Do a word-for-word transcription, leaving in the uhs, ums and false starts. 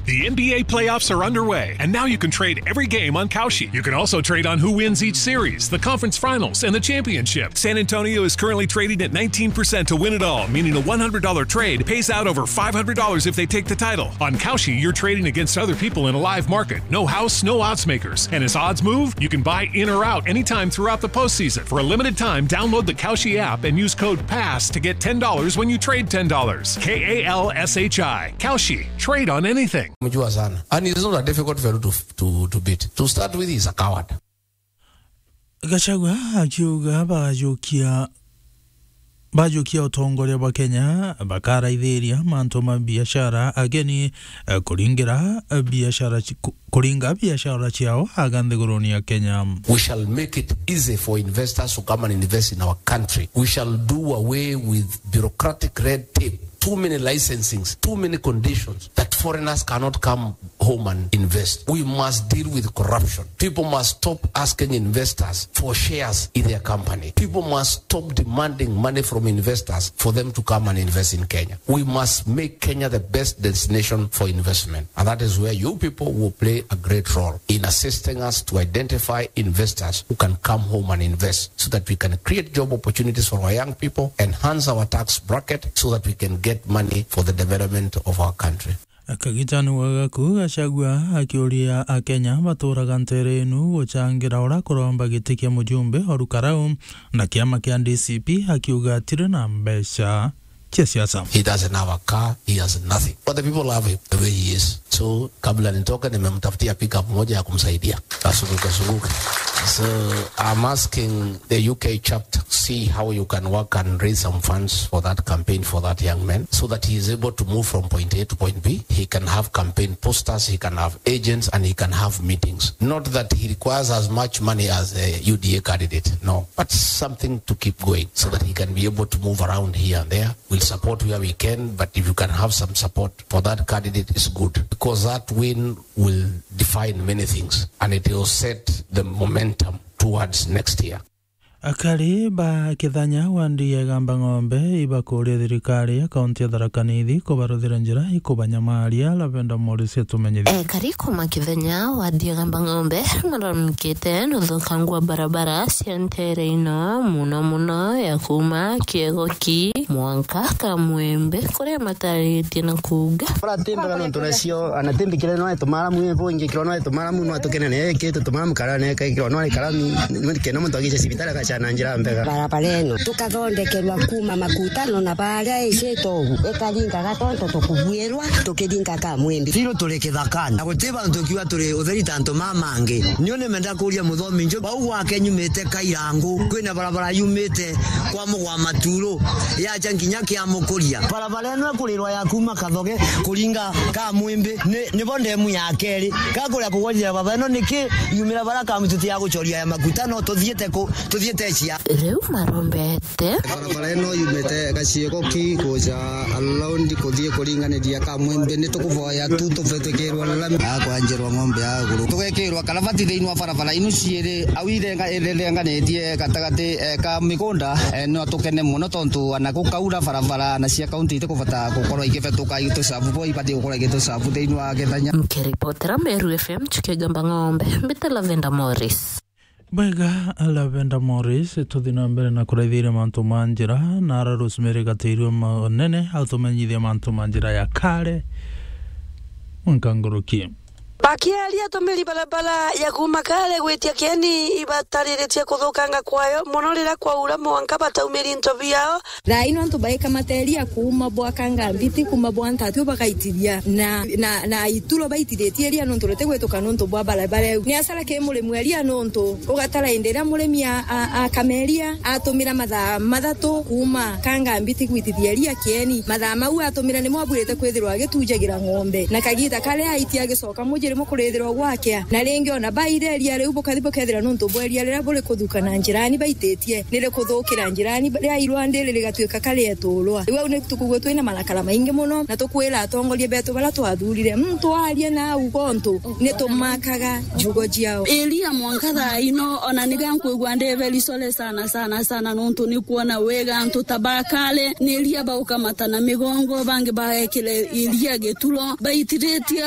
The N B A playoffs are underway, and now you can trade every game on Kalshi. You can also trade on who wins each series, the conference finals, and the championship. San Antonio is currently trading at nineteen percent to win it all, meaning a one hundred dollar trade pays out over five hundred dollars if they take the title. On Kalshi, you're trading against other people in a live market. No house, no odds makers. And as odds move, you can buy in or out anytime throughout the postseason. For a limited time, download the Kalshi app and use code pass to get ten dollars when you trade ten dollars. K A L S H I. Kalshi. Trade on anything. Mjua sana. And it's not a difficult fellow to, to, to beat. To start with, he's a coward. Gachagua akiuga bajukia, bajukia utongoria bwa Kenya bakaraithiria mantu ma biashara ageni, eh, kuringira, eh, biashara ci-, ku-, kuringa biashara ciao aga nthiguruni ya Kenya. We shall make it easy for investors to come and invest in our country. We shall do away with bureaucratic red tape. Too many licensings, too many conditions that foreigners cannot come home and invest. We must deal with corruption. People must stop asking investors for shares in their company. People must stop demanding money from investors for them to come and invest in Kenya. We must make Kenya the best destination for investment. And that is where you people will play a great role in assisting us to identify investors who can come home and invest so that we can create job opportunities for our young people, enhance our tax bracket so that we can get money for the development of our country. Kagitani wa Gaku, Gachagua akiuria Akenya baturaga ntere inu guchangira ura kuromba giti kia mujumbe o Rukarau na kiama kia D C P, akiuga atiri na mbeca cia siasa. He doesn't have a car, he has nothing. But the people love him the way he is. So, kabla nitoke, nimemtafutia pickup moja ya kumsaidia. Azunguke, azunguke. So, I'm asking the U K chapter, see how you can work and raise some funds for that campaign for that young man, so that he is able to move from point A to point B. He can have campaign posters, he can have agents, and he can have meetings. Not that he requires as much money as a U D A candidate, no, but something to keep going so that he can be able to move around here and there. We'll support where we can, but if you can have some support for that candidate, is good, because that win will define many things and it will set the momentum towards next year. Akari ba Kithanya wandi ya Igamba Ng'ombe ibakuria thirikari ya kaunti ya Tharaka Nithi kubaruthira njira ikubanyamaria. Lavenda Morris atumenyithie. Ekari kuma Kithanya wandi ya Igamba Ng'ombe naralamikite na uthukangu wa barabara cia ntere ino, muno muno ya kuma Kiegoki mwanka Kamwembe, kuria mataritie na kuuga. Ora timbega nontu nacio, ana timbikire no etumaramu, ibo ingikirwa no etumaramu, no atukenene, eke tutumaramu karane, eke ikirwa no ikarami, kenda muntu agice cibitari agacana njira mbega. Barabara ino tukathondekerwa kuma Makutano na baria icito ugu, ikaringaga tontu tukubuirwa tukiringa Kamwembe. Biru turi kithakani, na guti bantu tukiuga turi utheri ta antu mama angi. Niu nimenda kuria muthomi nju, bau gwake nyumite Kairangu, kwina barabara yumite kwa Mugwa Maturu, yacha nginya kia Mukuria. Barabara ino ikurirwa ya kuma Kathoge kuringa Kamwimbi, ni, nibo ndemu ya keri. Gakuria kugwatithia barabara ino niki yumira bara Kamwimbi tuti ya gucoria ya Makutano, tuthiite ku, tuthiite cia. Riu marombete. Barabara ino yumite Gaciego ki kuja around kuthii kuringaniria Kamwimbi, ni tukuvoya tu tuvetukirwe lami. Akwanjirwa ng'ombe ya guru. Tugekirwa karavati thiini wa barabara inu ciiri, au ithenga-, ithenganitie gatagati, eh, ka migunda, eh, no tukene muno tontu ana gukaura barabara na cia kaunti itikubata gukorwa igivetuka igitucabu bo ibati gukorwa igitucabu thiini wa Kithanya. Nkiripotera Meru F M, Chuki Gamba Ng'ombe, mbite Lavenda Morris. Bwega, Lavenda Morris, tuthi na mbere na kuraithiria mantu ma njira, na ara Rosemary Gatiirua Manene atumenyithia mantu ma njira ya Kare mwanka nguruki. Bakiaria atumiri barabara ya kuma Kare gwitia Kieni ibatariritie kuthukanga kwayo muno riria kwaura mwanka bataumiri into biao. Thaa ino antu baikamateria kuuma bwa Kangambiti, kuuma bwa Ntatio bagaitithia na, na, na ituro baitithitie iria nontu ritigwituka nontu bwa barabara iu. Ni asara ki murimi wa iria nontu ugatara indi iria murimi a, a, akameria atumira mathaa mathatu kuuma Kangambiti gwitithia iria Kieni. Mathaa mau atumira nimo abwirite kwithirwa agitujagira ng'ombe. Na kagiita karia aitia agicoka muji rimo kurithirwa gwakea. Na ringi ona baire iria riu bukathi bukethira nontu bwa iria riria buri kuthuka na njirani baititie. Nirikuthukira njirani, ria irwandi ri rigatuika karieturwa. Riu au ni tukugua twina marakara maingi muno, na tukwira atongoria betu baria twathurire, muntu aria na auga untu, nitumakaga njugo ciao. Iria mwanka thaa ino, ona niga nkwigua ndi very sorry sana, sana, sana, nontu ni kwona wega antu ta ba Kare, ni iria baukamata na migongo, bangi baekire iria gituro, baitiritie